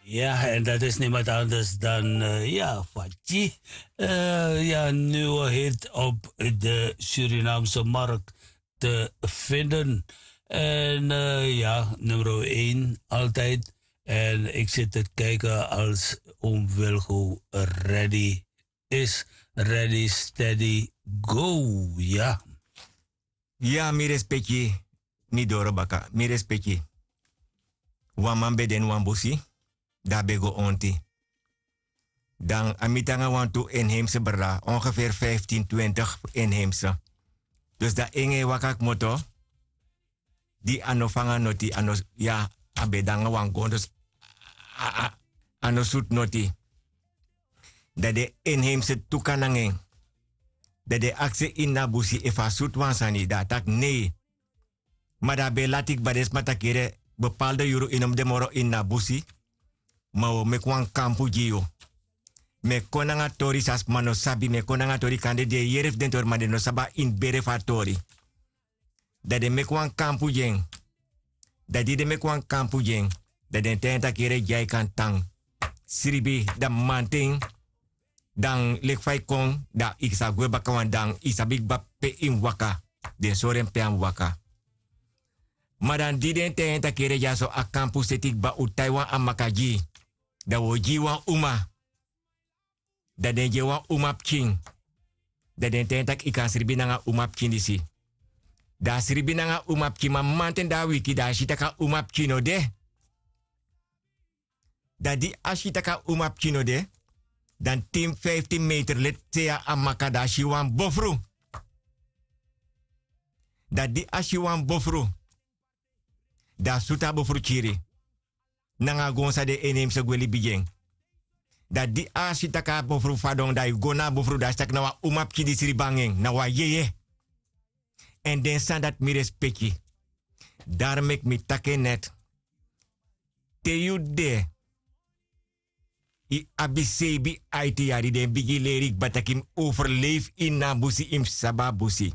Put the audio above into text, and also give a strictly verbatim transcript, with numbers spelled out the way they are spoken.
Ya en dat is niemand anders dan ya fatyi. Ya nuwe hit op de surinaamse markt te vinden. En ya nummer een altijd. En ik zit te kijken als oom wilgo ready is. Ready steady go. Ya. Ya mi respeki. Mi doro baka mi respeki. Wan man ben de ini wan busi, dan a ben go onti. Dan a miti nanga wantu inheimse brada ongefeer vijftin twintig inheimse. Dus dan en e waka kmoto. Di a no fanga noti a no ya, a ben de nanga wan gondos. A no sutu noti. Dan den inheimse tuka nanga en. Dan den aksi en ini a busi efu a sutu wan sani dan a taki nei. Ma dan a ben lati kba den sma taki yere, bepalde yuru yu no mus de moro ini a busi. Ma wi o meki wan kampu gi yu. Mi e kon nanga tori san sma no sabi mi e kon nanga tori kande di e yere fu den tori ma den no sabi a ini bere fu a tori. Dan den meki wan kampu gi en. Dan di den meki wan kampu gi en, dan den taigi en tak' yere gi a e kan tan. Sribi dan mamanten, dan leki fa yu kon, dan yu sa gwe baka wan dan yu sabi kba pe yu mus waka. Den sori en pe a mus waka. Ma dan di den taigi en tak' yere dyaso a kampu seti kba un tai wan amaka gi yu, dan wi o gi yu wan uma. Dan den gi en wan umapikin. Dan den taigi en tak' yu kan sribi nanga umapikin disi. Dan a sribi nanga umapikin ma mamanten dan a wiki dan a si tak' a umapikin no de. Dan di a si tak' a umapikin no de, dan tin fiftin meter leti sei a maka dan a si wan bofru. Dan di a si wan bofru, dan a sutu a bofru kiri. Nanga a gon san den en neimse gwe libi gi en. Dan di a si tak' a bofru fadon dan yu go na a bofru dan a si tak' na wan umapikin di sribi nanga en na wan yeye. Èn den sani dati mi respeki. Dari meki mi taki en nèt. Te yu de, yu abi seibi aiti yari den bigin leri kba tak' yu mus overleifi ini a busi yu mus sabi a busi.